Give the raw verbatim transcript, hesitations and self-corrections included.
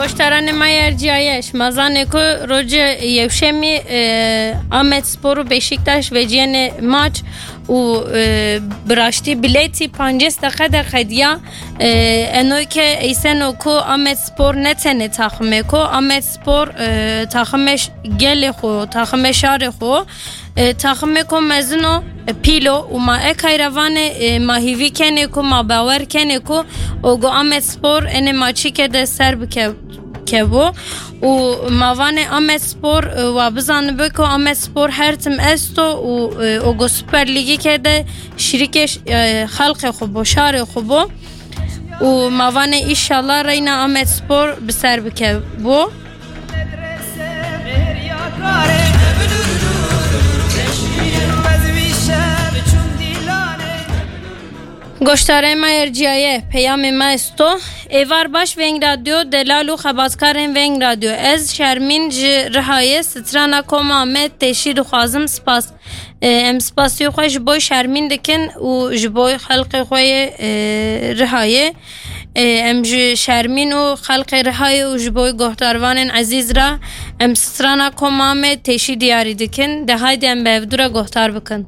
Guhdaranê me yê erciyayê, şima zanê ku rojê yewşemî, e, Amed Spor û Beşiktaş veciyene maç û, e, bi raştî biletî pancês deqe de qediya. E, eno ke eyseno ku Amed Spor ne tenê taximê ku, Amed Spor, e, taximê ş-, gelê xo, taximê şarê xo, e, taximê ku mezin o, e, pîl o û ma ekayra vanê, e, ma hîvî kenê ku, ma bawer kenê ku o go Amed Spor enê maçîke de ser bike-, kevbo û ma vanê Amed Spor, e, wa bizanibe ku Amed Spor her tim esto û, e, o go Süper Lîgîke de şirîkê ş-, e, xelqê xo bo, şarê xo bo û ma vanê îşallah reyna Amed Spor bi ser bikevbo. Goştarê me erciyaye, peyamê me esto. Êvar baş Veng Radyo, delal û xebatkarên Veng Radyo. Ez Şermîn ji Rihayê, strana koma me têşî dixwazim spas. E, em spasiyê xwe ji bo Şermîn dikin û ji bo xelqê xwe yê, e, Rihayê. E, em ji Şermîn û xelqê Rihayê û ji bo guhdarvanên ezîz re em strana koma me têşî diyarî dikin. De haydi em bi hevdû re guhdar bikin.